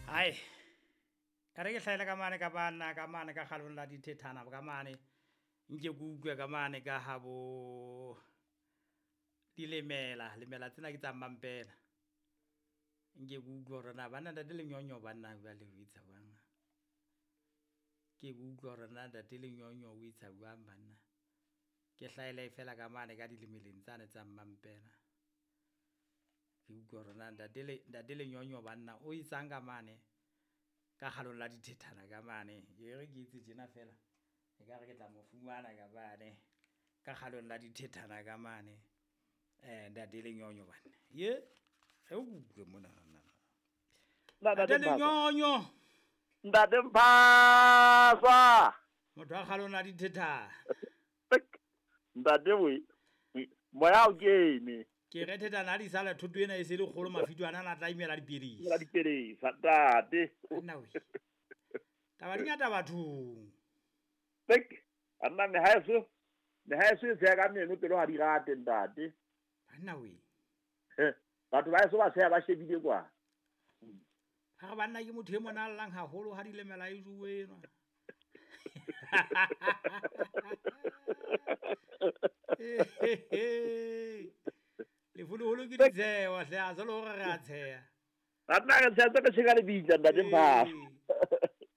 Hai, e re ke hlahele ka mane ka banna ka mane ka kgalong la dithethana ka mane, nke ke utlwe ka mane ka ha bo dilemela, lemela tsena ke tsa mmampela. Nke ke utlwe hore na banna ntate Lenyonyo banna jwale o etsa jwang. Ke ke utlwe hore na ntate Lenyonyo o etsa jwang banna. Ke hlahele fela ka mane ka dilemeleng tsane tsa mmampela. Ke utlwe hore na ntate Lenyonyo banna o etsang ka mane ka kgalong la dithethana ka mane. E re ke etse tjena fela, ekare ke tla mo fumana ka mane ka kgalong la dithethana ka mane. Ntate Lenyonyo banna. Ye, re utlwe mona. Ntate Lenyonyo. Ntate Mphasa. Motho wa kgalong la dithethana. Ntate we, moya o kene. Ke re thethana ha di sala thoto ena e se le kgolo, mafito ana a tla imela dipelesa. Imela dipelesa, ntate. Nna we. Taba di ngata bathong. Tek, anna mehaeso, mehaeso e tsheha ka meno pelo ha di rate ntate. Banna we. Batho ba eso ba tsheha ba shebile kwa. Ha re banna ke motho e mona a llang haholo ha dilemela e jowe enwa. Leholoholo ke ditsheho hle, a se le hore re a tsheha. Banna re tsheha re tsheka lebitla ntate Mphasa.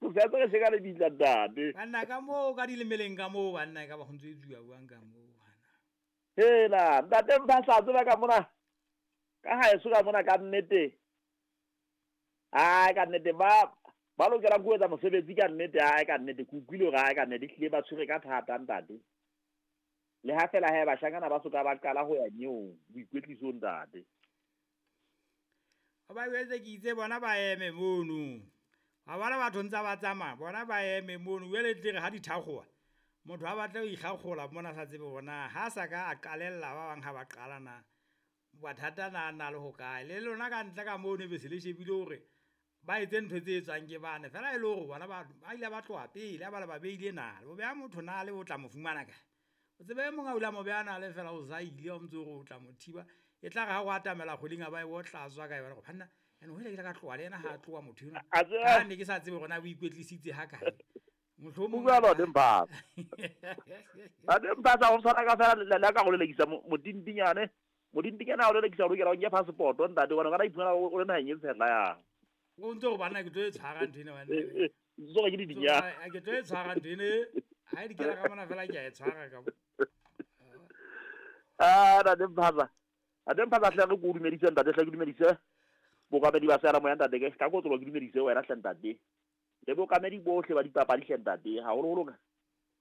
Re tsheha re tsheka lebitla ntate. Banna ka moo ka dilemeleng ka moo banna e ka ba ho ntso e tsuwa jwang ka moo bana. Hela ntate Mphasa tseba ka mona. Ka haeso ka mona ka nnete. Ai ka nnete ba ba lokela ho etsa mosebetsi ka nnete, ai ka nnete ke utlwile hore ai ka nnete hlile ba tshwere ka thata ntate. Le ha fela he bashanyana ba soka ba qala ho ya nyeong boikwetlisong ntate. Ba jwetse ke itse bona ba eme mono. Wa bona batho ntsa ba tsamaya, bona ba eme mono. Jwale tle re ha di thakgoha, motho ha batle ho ikgakgola mona sa tsebe hore na ha sa ka a qalella ba bang ha ba qala na bothata na na le hokae. Le lona ka ntle ka mono be se le shebile hore ba etse ntho tse etswang ke bane. Fela e le hore bona ba ile ba tloha pele, ha ba le ba beile nale. O beha motho nale o tla mo fumana kae? O tsebe e mong a o ile a mo beha nale fela o sa ile, o ntso re o tla mo thiba. E tla re ha o atamela kgweding a ba e o tla tswa ka yona hore banna, ene ho ile ke ka tloha le yena ha a tloha motho enwa. A tseba. Ka ne ke sa tsebe hore na o ikwetlisitse ha kae. Mohlomong O bua lona, Mphasa. Ntate Mphasa, ho tshwana ka fela le ka go lelekisa modintinyane. Modintinyane ha o lelekisa o lokela o nke passport ntate, hobane o ka iphumana o le naheng e tshehla yang. O ntse o banna ke tlo e tshwara ntho ena banna. Ntse ke di dinya. Ke tlo e tshwara ntho ena. Ha e di kena ka mona fela ke a e tshwara ka. Ah, ntate Mphasa. Ntate Mphasa hle re ko dumedise ntate, hle ke dumedise bookamedi ba seyalemoya ntate, ke ka kotsolo ke dumedise wena hle ntate. Le bookamedi bohle ba dipapadi hle ntate, haholoholo